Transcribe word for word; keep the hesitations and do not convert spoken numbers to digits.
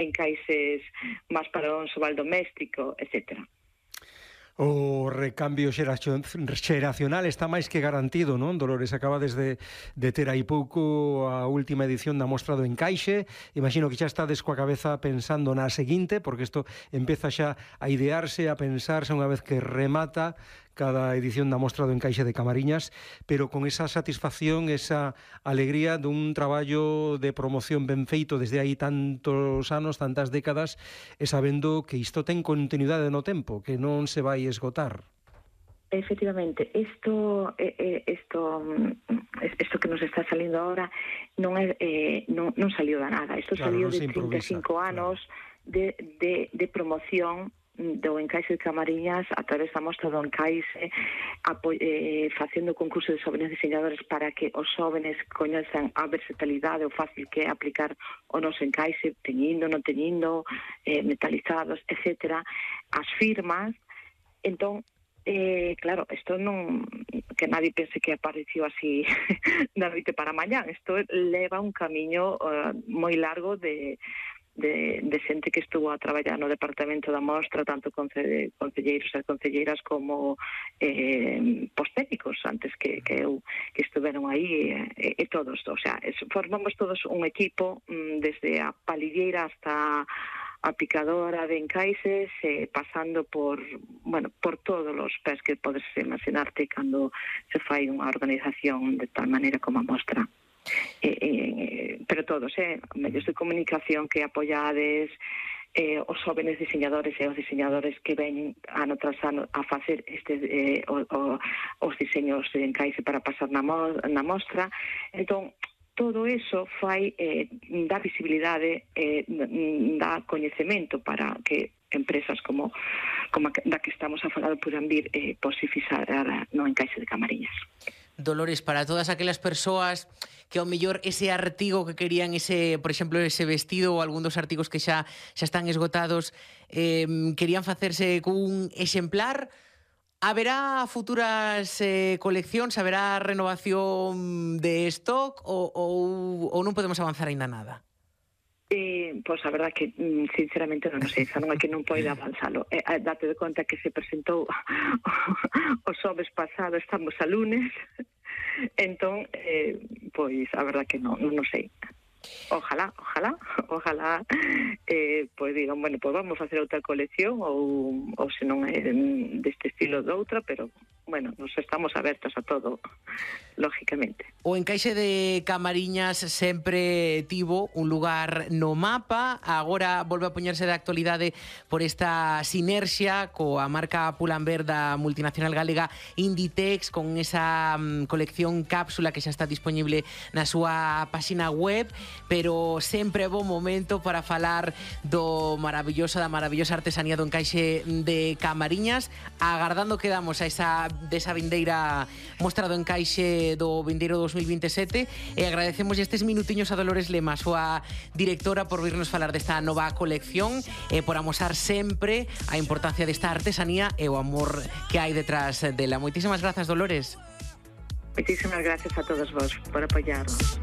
encaixes máis para o uso doméstico, etcétera. O recambio xeracional está máis que garantido, non, Dolores? Acabades de, de ter aí pouco a última edición da Mostra do Encaixe. Imagino que xa estades coa cabeza pensando na seguinte, porque isto empeza xa a idearse, a pensarse unha vez que remata cada edición da Mostra do Encaixe de Camariñas, pero con esa satisfacción, esa alegría dun traballo de promoción ben feito desde aí tantos anos, tantas décadas, e sabendo que isto ten continuidade no tempo, que non se vai esgotar. Efectivamente, isto eh, isto isto que nos está salindo ahora non é eh, non, non saliu da nada. Isto claro, saliu de trinta e cinco anos claro. de, de, de promoción do Encaixe de Camariñas a través da Mostra do Encaixe, eh, facendo concurso de xóvenes diseñadores para que os xóvenes coñezan a versatilidade o fácil que é aplicar o noso encaixe, teñindo, non teñindo, eh, metalizados, etcétera. As firmas. Entón, eh, claro, isto non, que nadie pense que apareció así da noite para mañán. Isto leva un camiño uh, moi largo de De, de xente que estuvo a traballar no departamento da Mostra, tanto conce, concelleiros e concelleiras como eh, postécnicos antes que, que eu que estuveron aí e, e todos, o sea, es, formamos todos un equipo mm, desde a palilleira hasta a picadora de encaixes, eh, pasando por, bueno, por todos os pés que podes imaginarte cando se fai unha organización de tal maneira como a Mostra. Eh, eh, pero todos, eh, medios de comunicación que apoiades, eh, os jóvenes diseñadores e os diseñadores que ven ano tras ano a facer este, eh, o, o, os diseños de encaixe para pasar na, mo na mostra. Entón, todo eso fai eh, dá visibilidade, eh, dá coñecemento para que empresas como, como a, da que estamos a falar podan vir eh, posibilizar no encaixe de Camariñas. Dolores, para todas aquelas persoas que ao mellor ese artigo que querían, ese, por exemplo, ese vestido ou algún dos artigos que xa xa están esgotados, eh, querían facerse cun exemplar, haberá futuras eh, coleccións, haberá renovación de stock ou, ou, ou non podemos avanzar aínda nada? Eh, pois a verdad que sinceramente non sei, xa non é que non pode avanzalo. Eh, date de conta que se presentou o xoves pasado, estamos a lunes, entón, eh, pois a verdad que non, non sei. Ojalá, ojalá, ojalá eh, pois digan, bueno, pois vamos a facer outra colección ou, ou se non é deste estilo de outra, pero bueno, nos estamos abertas a todo, lógicamente. O encaixe de Camariñas sempre tivo un lugar no mapa, agora volve a poñerse de actualidade por esta sinerxia coa marca Pull&Bear da multinacional galega Inditex, con esa um, colección cápsula que xa está disponible na súa páxina web, pero sempre é bo momento para falar do maravilloso, da maravillosa artesanía do encaixe de Camariñas, agardando que damos a esa desa vindeira Mostra do Encaixe do vindeiro dos mil vinte e sete, e agradecemos estes minutiños a Dolores Lema, a súa directora, por virnos falar desta nova colección e por amosar sempre a importancia desta artesanía e o amor que hai detrás dela. Moitísimas grazas, Dolores. Moitísimas gracias a todos vos por apoiarnos.